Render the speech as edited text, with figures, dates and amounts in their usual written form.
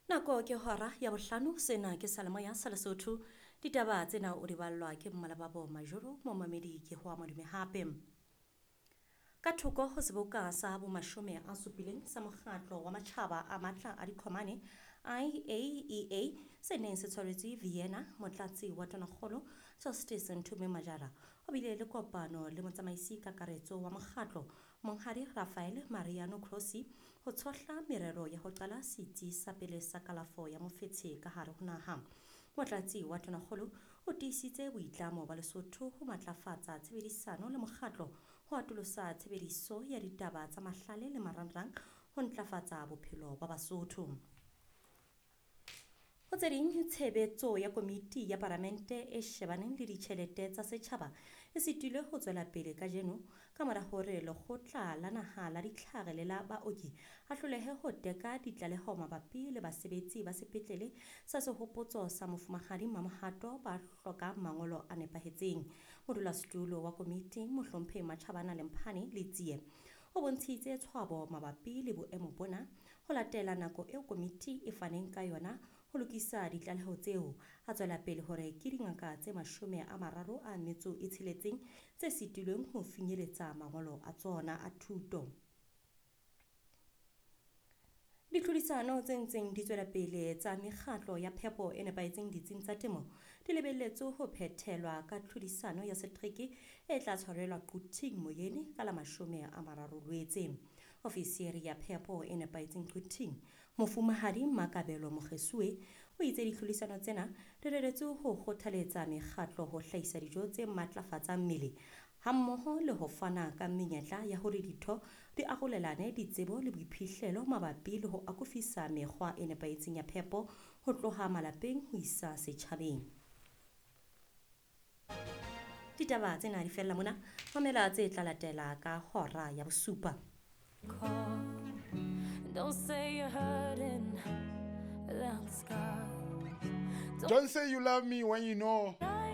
Nako ke hora ya bohlano, sena ke Salemoya sa Lesotho. Ditaba tsena o di ballwa ke Mmalababo Majoro, momamedi ke hoa madume hape. Ka thoko ho seboka sa bomashome a supileng sa mokgatlo wa matjhaba a matla a diqhomane IAEA se neng se tshwaretswe Vienna, motlatsi wa tonakgolo Justice Nthume Majara o bile le kopano le motsamaisi kakaretso wa mokgatlo Monghadi Rafael Mariano Grossi ho tshohla merero ya ho qala setsi sa pele sa kalafo ya mofetshe ka hare ho naha. Motlatsi wa tonakgolo o tiisitse boitlamo ba Lesotho ho matlafatsa tshebedisano le mokgatlo ho atolosa tshebediso ya ditaba tsa mahlale le marangrang ho ntlafatsa bophelo ba Basotho. Ho tse ding, tshebetso ya komiti ya palamente e shebaneng le ditjhelete tsa setjhaba e sitilwe ho tswela pele kajeno ka mora hore lekgotla la naha la ditlhare le la baoki a hlolehe ho teka ditlaleho mabapi le basebetsi ba sepetlele sa sehopotso sa Mofumahadi Mamohato ba hlokang mangolo a nepahetseng. Modulasetulo wa komiti Mohlomphehi Matjhabana Lemphane Letsie o bontshitse tshwabo mabapi le boemo bona ho latela nako eo komiti e faneng ka yona ho lokisa ditlaleho tseo. A tswela pele hore ke dingaka tse 36 tse sitilweng ho finyeletsa mangolo a tsona a thuto. Ditlhodisano tse ntseng di tswela pele tsa mekgatlo ya phepo e nepahetseng ditsing tsa temo di lebelletswe ho phethelwa ka tlhodisano ya setereke e tla tshwarelwa Quthing Moyeni ka la 30 Lwetse. Ofisiri ya phepo e nepahetseng Quthing, Mofumahadi Makabelo Mokgesuwe, o itse ditlhodisano tsena di reretswe ho kgothaletsa mekgatlo ho hlahisa dijo tse matlafatsang mmele hammoho le ho fana ka menyetla ya hore ditho di arolelane ditsebo le boiphihlelo mabapi le ho akofisa mekgwa e nepahetseng ya phepo ho tloha malapeng ho isa setjhabeng. Ditaba tsena di fella mona, mamela tse tla latela ka hora ya bosupa. Don't say you're hurting without the scars. Don't say you love me when you know